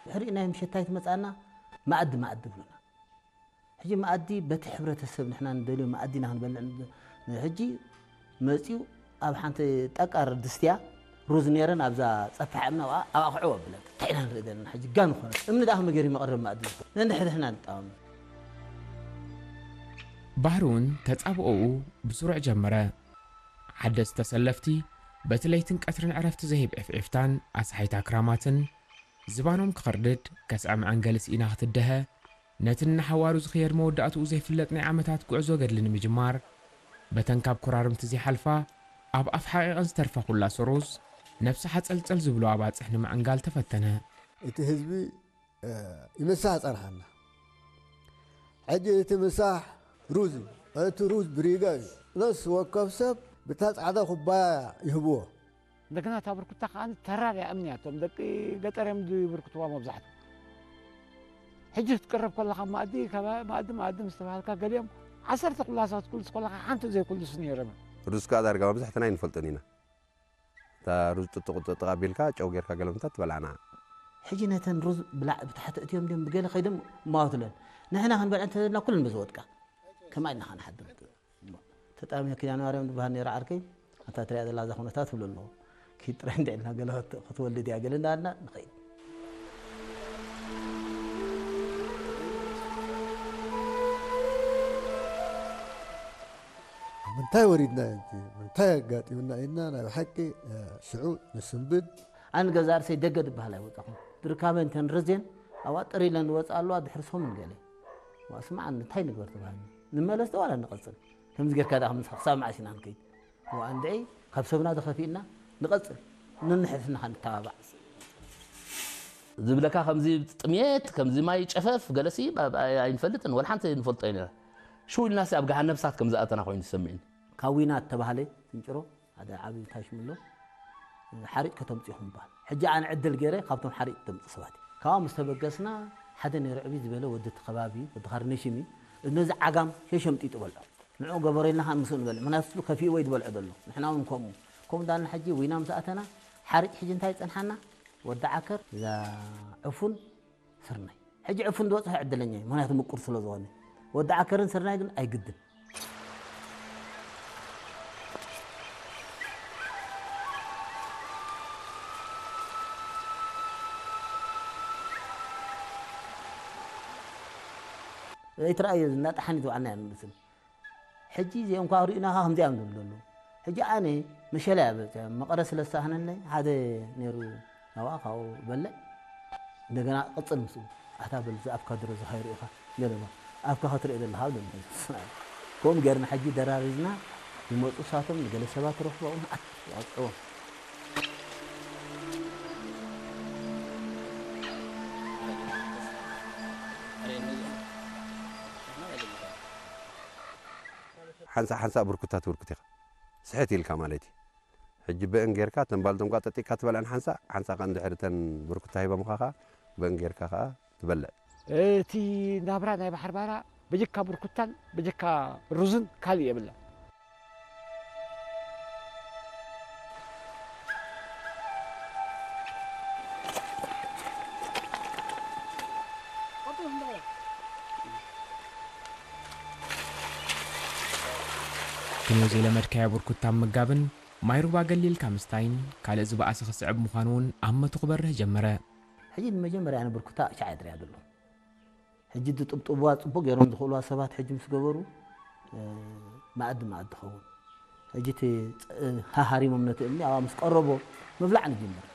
ድሕሪኡ ናይ ምሸት እንታይ ትመጻና? መኣዲ መኣዲ ይብሉና። ሕጂ መኣዲ በቲ ሕብረተሰብ ንሕና ንደልዮ መኣዲ ኢና ክንበልዕ ን-፣ ሕጂ መጺኡ ኣብ ሓንቲ ጠቃር ድስትያ ሩዝ ነይረን ኣብዛ ጸፍሕ እምኒ ኣብኣ፣ ኣብኣ ክዕወ ኣብለካ። እንታይ ኢና ንርኢ ዘለና? ሕጂ ጋን ኾነ። እምኒ ደኣ ከመይ ገይሩ መቐረቢ መኣዲ ዝኾነ? ነንሕድሕድና ንጣወም። ባህሪ እውን ተጻብኦኡ ብስሩዕ ጀመረ። ሓደስቲ ተሰለፍቲ በቲ ለይትን ቀትርን ዕረፍቲ ዘይህብ ዒፍዒፍታን ኣስሓይታ ክራማትን ዝባኖም ክኸርድድ ከስዐ መዐንገሊ ስኢና ክትደሀ ነቲ ንሓዋሩ ዝኽየድ መወዳእትኡ ዘይፍለጥ ናይ ዓመታት ጉዕዞ ገድሊ ንምጅማር በተን ካብ ኮራርምቲ ዘይሓልፋ ኣብ ኣፍ ሓቒቐን ዝተርፋ ኩላ ሰሮዝ ነብሲ ሓጸልጸል ዝብሎ ኣባጽሕ ንምዕንጋል ተፈተነ። እቲ ህዝቢ ይምሳሕ ጸንሓና። ሕጂ እቲ ምሳሕ ሩዝ እዩ። እቲ ሩዝ ብሪጋ እዩ። ነፍሲ ወከፍ ሰብ ብታ ጻዕዳ ኩባያ ይህብዎ። እንደገና እታ ብርኩታ ከዓ ተራር እያ እምኒ እያ። እቶም ደቂ ገጠር እዮም ዝብርክትዋ መብዛሕትኡ። ሕጂ ክትቅረብ ከለኻ ማእዲ፣ ማእዲ፣ ማእዲ ምስ ተባሃልካ ገሊኦም ዓሰርተ ኩላሳት ክልስ ከለኻ ሓንቲ ዘይክልሱ ነይሮም። ሩዝ ከዓ ዳርጋ መብዛሕትና ኣይንፈልጦን ኢና። እታ ሩዝ ጥጥቕ ጥጥቕ ኣቢልካ ጨው ጌርካ ገለምታ ትበልዓና። ሕጂ ነተን ሩዝ ብላዕ ብታሕቲ እትዮም ድዮም ብገለ ከይዶም እማወትለን ንሕና ክንበልዐ እንተዘልና ኩለን በዚ ወድቃ ከማይ ኢልና ንሓድር። ተጣሚያ ኪዳነ ማርያም ዝበሃል ነይሩ ዓርከይ ኣታ ትሪኣ ዘላ እዛ ኩነታት ትብሎ ኣለኹ። ኪድ ጥራይ እንድዒ ኢልና ገለ ክትወልድ እያ ገለ እንዳበልና ንኸይድ። ምንታይ ወሪድና እዩ እቲ ምንታይ ኣጋጢሙና ኢልና ናይ ብሓቂ ሽዑ ንስንብድ። ኣነ ገዛ ርእሰይ ደገ ዝበሃል ኣይወጻኹን። ድርካበን ተን ረዝየን ኣብኣ ጥር ኢለን ዝወጻ ኣለዋ ድሕሪ ሰሙን ገለ። ዋ ስምዓኒ እንታይ ንግበር ተባሃልና። ንመለስ ዶ ዋላ ንቐጽል? ከምዚ ጌርካ ደኣ ክሳብ መዓስ ኢና ንከይድ? ዋ እንድዒ ካብ ሰብና ዶ ከፊእና ንቐጽል። ነንሕድሕድና ከኣ ንተባባዕ። ዝብለካ ከምዚ ጥሜት ከምዚ ማይ ጨፈፍ ገለሲ ኣይንፈልጥን ወላ ሓንቲ ንፈልጦ ኢና ሽው ኢልናሲ ኣብ ገሃነብ እሳት ከም ዝኣተና ኮይኑ ዝሰምዕኒ ካብ ዊና እተባህለ ትንጭሮ ሓደ ዓብዪ ታሽሚ ኣሎ ሓሪጭ ከተምፅኡ ይኹም ይበሃል ሕጂ ኣነ ዕድል ገይረ ካብቶም ሓሪጭ ተምፁ ሰባት እዩ ካብኣ ምስ ተበገስና ሓደ ነይሩ ዕብይ ዝበለ ወዲ እቲ ከባቢ እዩ ወዲ ካርነሽም እዩ ነዚ ዓጋም ሸሸምጢጡ በልዖ ንዑ ገበሮ ኢልና ከዓ ምስኡ ንበልዕ ምክንያቱ እሱ ከፊኡ ወይ ዝበልዖ ዘሎ ንሕና እውን ከምኡ ከምኡ እንዳልና ሕጂ ዊና ምስ ኣተና ሓሪጭ ሕጂ እንታይ ይፀንሓና ወዲ ዓከር እዛ ዕፉን ስርናይ ሕጂ ዕፉን ዝበፅሖ ዕድለኛ እዩ ምክንያቱ ምቁር ስለ ዝኾነ ወዲ ዓከርን ስርናይ ግን ኣይግድን ኣይትረኣዮ እናጠሓኒት ዋዕና እያ ንመስል ሕጂ እዚኦም ኳ ሪእናኻ ከምዚኣ እዮም ዝብሉ ዘለዉ ሕጂ ኣነ መሸላ እያ በፅሖም መቐረ ስለ ዝሰኣነለይ ሓደ ነይሩ ኣብኣ ካብኡ በልዕ እንደገና ቅፅል ምስኡ ኣታ በል እዚ ኣፍካ ድሮ ዝሃይሩ ኢኻ ገለ ኣፍካ ክትሪኦ ዘለኻ ኣብ ደሞ ከምኡ ገይርና ሕጂ ደራሪዝና ይመፁ ሳቶም ንገለ ሰባት ረኽቦ ኣብኡ መዓት ይቐፅዕዎም ሓንሳእ ሓንሳእ ብርኩታ ትብርኩት ኢኻ ስሕት ኢልካ ማለት እዩ ሕጂ ብእን ጌርካ ተን ባልቶም ኳ ጠጢቅካ ትበልዐን ሓንሳእ ሓንሳእ ከ እንድሕር ተን ብርኩታ ሂቦምኻ ኸ ብእን ጌርካ ኸ ትበልዕ እቲ ናብራ ናይ ባሕር ባራ በጀካ ብርኩታን በጀካ ሩዝን ካልእ የብላ ክንዮ ዘይለመድካዮ ብርኩታ ምምጋብን ማይ ሩባ ገሊልካ ምስታይን ካልእ ዝበኣሰ ክስዕብ ምዃኑ እውን ኣብ መቱ ክበርህ ጀመረ። ሕጂ ንመጀመርያ ኣነ ብርኩታ ሻዕ እየ ዝሪኣ ዘለኹ። ሕጂ ዝጥብጥብዋ ጽቡቕ ገይሮም ዝኽእልዋ ሰባት ሕጂ ምስ ገበሩ መኣዲ መኣዲ ኸውን። ሕጂ እቲ ሃሃሪሞም ነቲ እምኒ ኣብኣ ምስ ቀረቦ ምብላዕ ንጅምር።